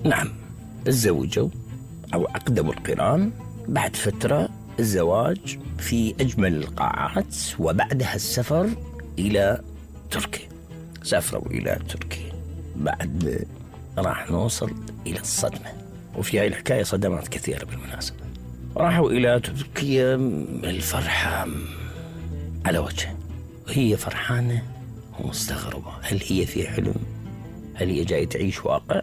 نعم، تزوجوا أو عقدوا القران. بعد فترة الزواج في أجمل القاعات، وبعدها السفر إلى تركيا. سافروا إلى تركيا. بعد راح نوصل إلى الصدمة، وفي هاي الحكاية صدمات كثيرة بالمناسبة. راحوا إلى تركيا، الفرحة على وجهه، وهي فرحانة ومستغربة. هل هي في حلم؟ هل هي جاي تعيش واقع؟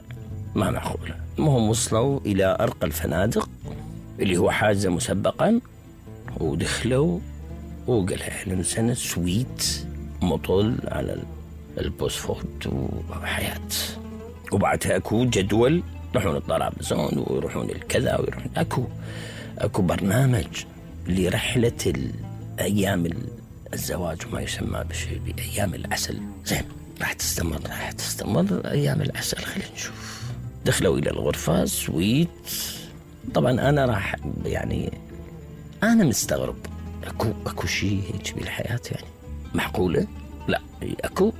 ما معقولة. المهم وصلوا إلى أرقى الفنادق اللي هو حاجة مسبقا، ودخلوا وقالها أهلا وسهلا سويت مطل على البوسفورت وحياة. وبعدها أكو جدول، يروحون الطرابزون ويروحون الكذا ويروحون أكو برنامج لرحلة أيام الزواج، وما يسمى بأيام العسل. زين، راح تستمر أيام العسل. خلينا نشوف. دخلوا إلى الغرفة سويت. طبعا أنا أنا مستغرب. أكو شيء هيك بالحياة يعني معقولة؟ لا،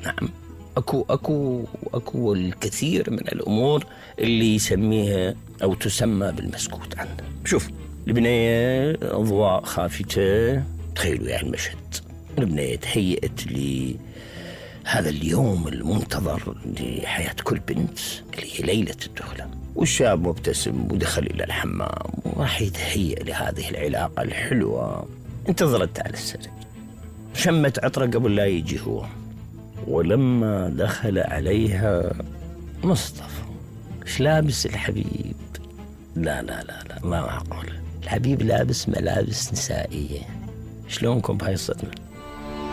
نعم، أكو الكثير من الأمور اللي يسميها أو تسمى بالمسكوت عنها. شوف، البنية أضواء خافتة، تخيلوا يعني المشهد. البنية تهيئت لهذا اليوم المنتظر لحياة كل بنت اللي هي ليلة الدخلة، والشاب مبتسم ودخل إلى الحمام وراح يتهيئ لهذه العلاقة الحلوة. انتظرت على السرير، شمت عطرة قبل لا يجي هو. ولما دخل عليها مصطفى، ايش لابس الحبيب؟ لا لا لا لا، ما معقول. الحبيب لابس ملابس نسائية. شلونكم بهاي الصدمة؟